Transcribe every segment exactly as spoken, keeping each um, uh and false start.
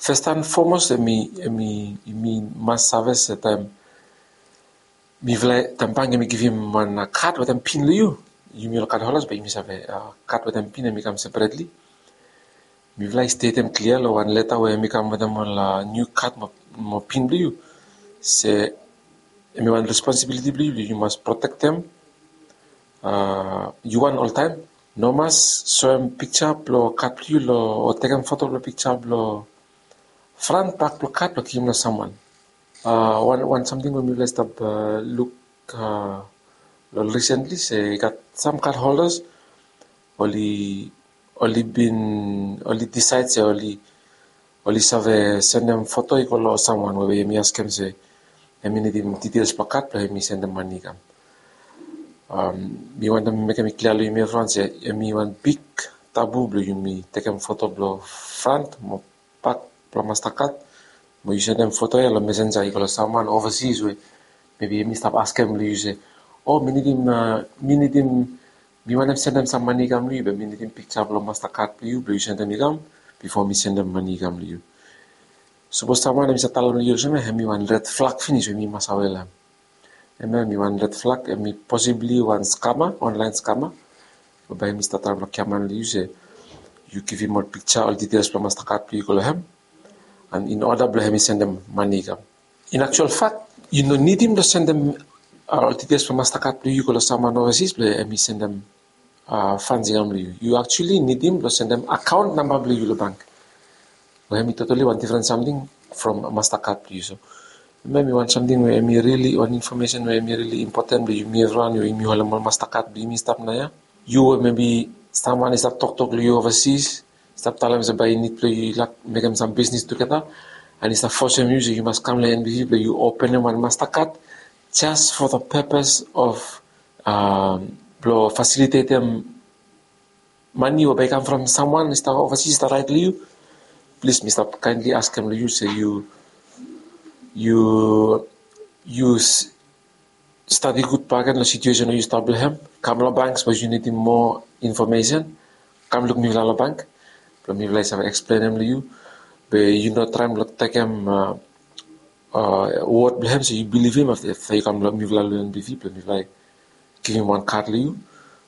First and foremost, em i em i yumi mas save se taem mifala, taem bank em i givim wan kad wetem pin long yu, yumi ol kad holders bae yumi save kad wetem pin em i kam separately. Mifala i stetem klia long wan leta we em i kam wetem ol niu kad mo pin blong yu se em i wan responsibiliti blong yu blong yu mas protektem yu wan oltaem. No mas soem piksa blong kad blong yu long o tekem foto blong piksa blong fran bak blong kad blong givim long samwan. Wan samting we mifala i stap luk long risentli se i gat sam kad holdas oli oli bin oli disaed se oli oli save sendem foto i go long samwan we em i askem se em i nidim details blong kad blong em i sendem mani i kam. Mi wantem mekem i klia long yumi evriwan se em i wan big tabu blong yumi tekem foto blong front mo bak blong Mastercard mo yu sendem foto ya long messenger i go long samwan overseas we mebi em i stap askem long yu se, o mi nidim mi nidim mi wantem sendem sam mani i kam long yu be mi nidim piksa blong Mastercard blong yu blong yu sendem i kam bifo mi sendem mani i kam long yu. Sapos samwan em i save talem long yu olsem ya em i wan red flag finis we mi mas awe long hem. Em ya em i wan red flag, em i posibli wan skama, online skama we bae em i stap traem long kiaman long yu se yu givim ol piksa ol details blong Mastercard blong yu go long hem and in order blong em i sendem mani i kam. In actual fact yu no nidim blong sendem ol details blong Mastercard blong yu go long samwan overseas blong em i sendem funds i kam long yu. Yu actually nidim blong sendem account namba blong yu long bank we em i totally wan different samting from Mastercard blong yu. So em i wan samting we em i really wan information we em i really important blong yumi evriwan we yumi holem ol Mastercard blong yumi stap naoia. Yu we mebi samwan i stap toktok long yu overseas, stap talem se bae i nid blong yu i lak mekem sam bisnis tugeta and i stap fosem yu se yu mas kam long NBV blong yu openem wan Mastercard just for the purpose of blong fasilitetem mani we bae i kam from samwan i stap overseas i stap raet long yu. Plis mi stap kaenli askem long yu se yu yu yu stadi gud bakegen long situesen we yu stap long hem. Kam long bank sapos yu nidim moa infomesen, kam luk mifala long bank blong mifala i save eksplenem long yu. Be yu no traem blong tekem wod blong hem se yu bilivim afta yu kam long mifala long NBV blong mifala i givim wan kad long yu.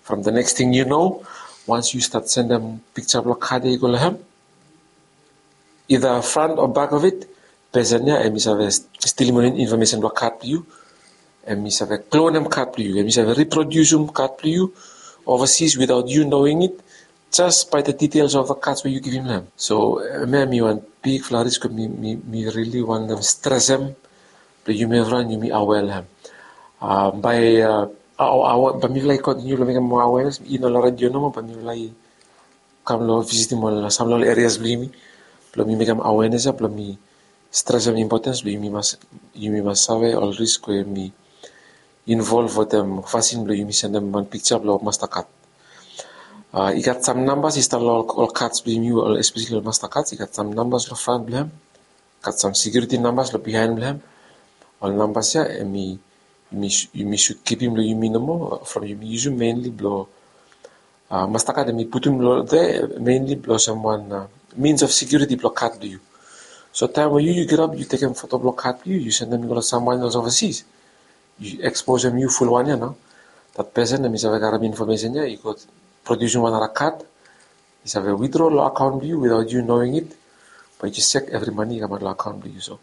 From the next ting yu no, wans yu stat sendem piksa blong kad ya i go long hem, either front o back of it, pesen ya em i save stilim ol infomesen blong kad blong yu. Em i save klonem kad blong yu, em i save riprodusim kad blong yu overseas without yu knowing it, just by the details of the cards we yu givim long hem. So em ya em i wan bigfala risk we mi mi mi rili wantem stresem blong yumi evriwan yumi awe long hem. Bae bae mifala i kontiniu blong mekem moa awenes, i no long redio nomo bae mifala i kam long visitim ol sam long ol erias blong yumi blong mi mekem awenes ya blong mi stresem impotens blong yumi mas yumi mas save ol risk we mi involv wetem fasin blong yumi sendem wan piksa blong Mastercard. I gat sam nambas i stap long ol cards blong yumi, espeseli ol Mastercards, i gat sam nambas long front blong hem, gat sam security nambas long bihaen blong hem. Ol nambas ya em i yumi sud kipim long yumi nomo from yumi yusum mainly blong Mastercard em i putum long there mainly blong olsem wan means of security blong kad blong yu. So taem we yu yu girap yu tekem foto blong kad blong yu yu sendem i go long samwan else overseas, yu eksposem yu fulwan ya nao, that pesen em i save karem infomesen ya i go produsim wan nara kad, i save withdraw long akaon blong yu without yu knowing it. Bae yu jes sek evri mani i kamaot long akaon blong yu. So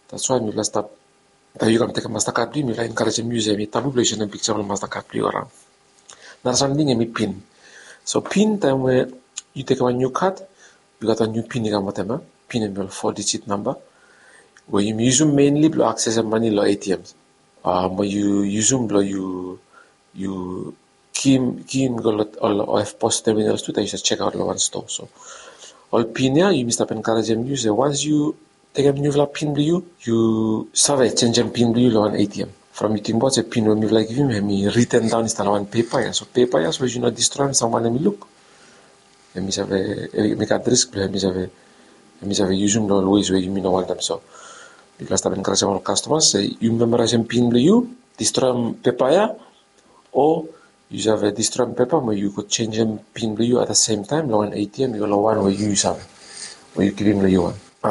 that's why mifala stap taem yu kam tekem Mastercard blong yu mifala enkarejem yu se em i tabu blong yu sendem piksa blong Mastercard blong yu araon. Nara samting em i pin. So pin taem we yu tekem wan niu kad, yu gat wan niu pin i kam wetem ya. Pin em i ol four digit namba we yumi yusum mainly blong aksesem mani long ATMs. Mo yu yusum blong yu yu ki in go long ol EFTPOS terminals tu taem yu save jekaot long wan stoa. So ol pin ya yumi stap enkarejem yu se wans yu tekem niufala pin blong yu, yu save jenjem pin blong yu long wan ATM. From yu tingbaot se pin we mifala i givim em i riten daon i stap long wan pepa ya. So pepa ya sapos yu no distroem samwan em i luk, em i save mekem risk blong em i save em i save yusum long ol ways we yumi no wantem. So mifala stap enkarejem ol kastomas se yu memaraesem pin blong yu, distroem pepa ya, o yu save distroem pepa mo yu go jenjem pin blong yu at the same taem long wan ATM i go long wan we yu yu save we yu givim long yu wan.